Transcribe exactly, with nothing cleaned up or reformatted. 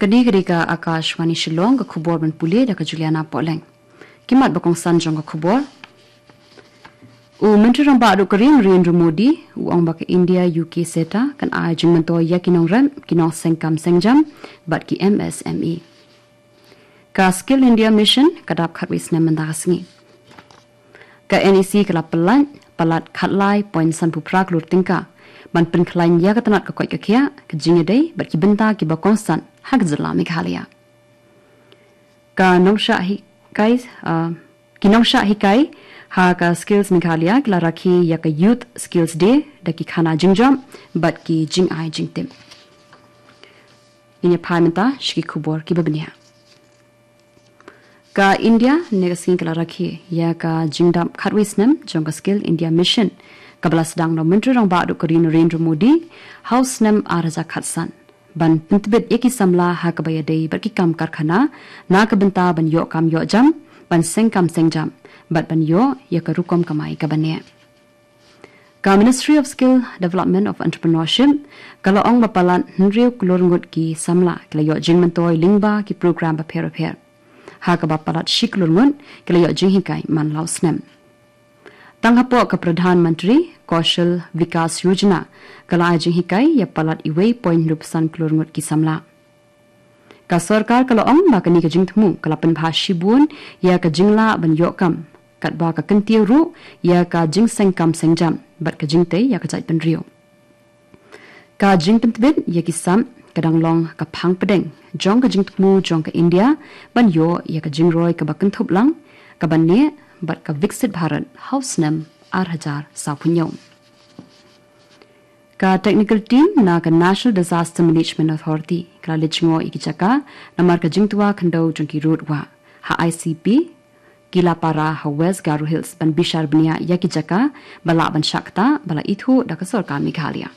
Kane ka dei ka Akashvani Shillong, ka khubor ban pule da ka Juliana Pohleng. Ki mat ba kongsan jong ka khubor. U Myntri Rangbah Duh ka Ri Narendra Modi u ong ba ka India U K SETA kan ai jingmyntoi ïa ki nongrep, ki nongseng kam seng jam bad ki M S M E. Ka Skill India Mission ka dap khatwei snem mynta ka sngi. Ka N E C ka la pyllait palat khatlai point sanphew phra klur tyngka ban pynkhlaiñ ïa ka tnat ka koit ka khiah, ka jingïadei bad ki bynta kiba kongsan ha ka jylla Meghalaya. Ka nongshah hikai, ah, ki nongshah hikai ha ka Skills Meghalaya ki la rakhe ïa ka Youth Skills Day da ki khana jingjop bad ki jingai jingtip. Ngin ïa phai mynta sha ki khubor kiba bniah. Ka India ne ka sngi ka la rakhe ïa ka jingdap khatwei snem jong ka Skill India Mission, kaba la sdang da u Myntri Rangbah Duh ka Ri Narendra Modi ha u snem ar hajar khatsan, ban pyntbit ïa ki samla ha kaba ïadei bad ki kam karkhana na ka bynta ban ïoh kam ïoh jam, ban seng kam seng jam bad ban ïoh ïa ka rukom kamai kaba neh. Ka Ministry of Skill Development of Entrepreneurship ka la ong ba palat hynriew klur ngut ki samla ki la ïoh jingmyntoi lyngba ki program bapher bapher, ha kaba palat shi klur ngut ki la ïoh jinghikai man la u snem. Tang hapoh ka Pradhan Mantri Kaushal Vikas Yojana ka la ai jinghikai ïa palat uwei point hynriewphew san klur ngut ki samla. Ka sorkar ka la ong ba kane ka jingthmu ka la pynbha shibun ïa ka jinglah ban ïoh kam, katba ka kyntiew ruh ïa ka jingseng kam seng jam bad ka jingtei ïa ka jaitbynriew. Ka jingpyntbit ïa ki sap ka dang long ka phang pdeng jong ka jingthmu jong ka India ban ïoh ïa ka jingroi kaba kynthup lang, kaba neh bad ka Viksit Bharat ha u snem ar hajar sawphew hynñiew. Ka technical team na ka National Disaster Management Authority ka la leit jngoh ïa ki jaka namar ka jingtwa khyndew jong ki rud wah ha I C P Kilapara ha West Garo Hills, ban bishar bniah ïa ki jaka ba lah ban shah ktah ba la ithuh da ka sorkar Meghalaya.